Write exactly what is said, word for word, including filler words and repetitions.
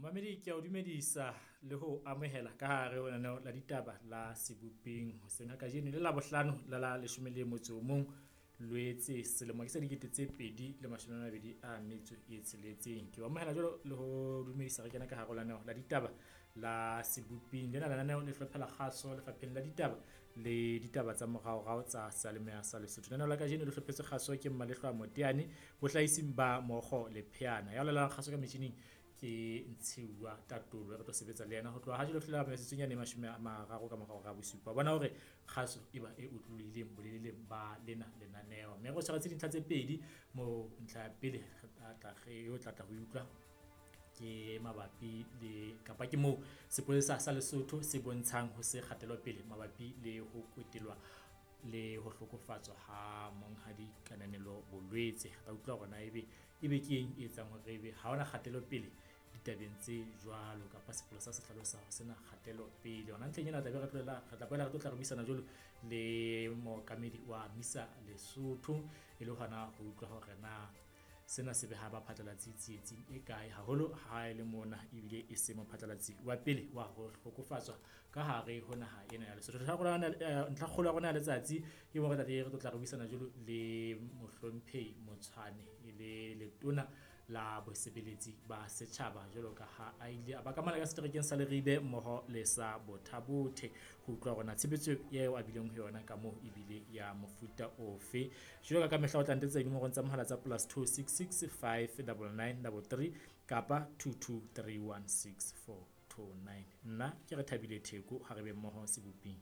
Momamedi, ke a o dumedisa le ho amohela ka hare ho lenaneo la ditaba la Sebopeng hoseng ha kajeno le Labohlano la la leshome le motso o mong Loetse selemo ke sa dikete tse pedi le mashome a mabedi a metso e tsheletseng. Ke o amohela jwalo le ho dumedisa re kena ka hare ho lenaneo la ditaba la Sebopeng. Lena lenaneo le hlophela kgaso lefapheng la ditaba le ditaba tsa moraorao tsa seyalemoya sa Lesotho. Lenaneo la kajeno le hlophetse kgaso ke Mmalehlwa Moteane, bohlahising ba Mokgo Lepheana. Ya laolang kgaso ka metjhining ke Ntshiuwa Tatolo, re tlo sebetsa le yena ho tloha ha jwale ho fihlela metsotsong yane e mashome a mararo ka mora hora ya bosupa. Bona hore kgaso e ba e otlolohileng boleleleng ba lena lenaneo. Mme re tshwaretse dintlha tse pedi moo ntlha ya pele re tla re o tla tla ho utlwa ke mabapi le kapa ke moo sepolesa sa Lesotho se bontshang ho se kgatelopele mabapi le ho kwetelwa le ho hlokofatswa ha monghadi Kananelo Bolwetse. Re tla utlwa hore na ebe ebe ke eng e etsang hore ebe ha hona kgatelopele ditabeng tse jwalo kapa sepolesa se hlalosa ho sena kgatelopele. Hona ntlheng ena tla be re tlohela re tla boela re tlo tla re buisana jwalo le mookamedi wa MISA Lesotho e le hona ho utlwa hore na sena se beha baphatlalatsi tsietsing e kae, haholo ha e le mona ebile e se mophatlalatsi wa pele wa ho hlokofatswa ka hare ho naha ena ya Lesotho. Ntlha kgolo ya rona ya letsatsi ke mo re tla re tlo tla re buisana jwalo le mohlomphehi Motshwane e le letona la bosebeletsi ba setjhaba jwalo ka ha a ile a ba ka mona ka seterekeng sa Leribe mmoho le sa Botha-Bothe ho utlwa hore na tshebetso eo a bileng ho yona ka moo ebile ya mofuta ofe. Jwalo ka ka mehla o tla ntetsa dinomorong tsa mohala tsa plus two six six five double nine double three kapa two two three one six four two nine. Nna ke re Thabile Theko, ha re be mmoho Sebopeng.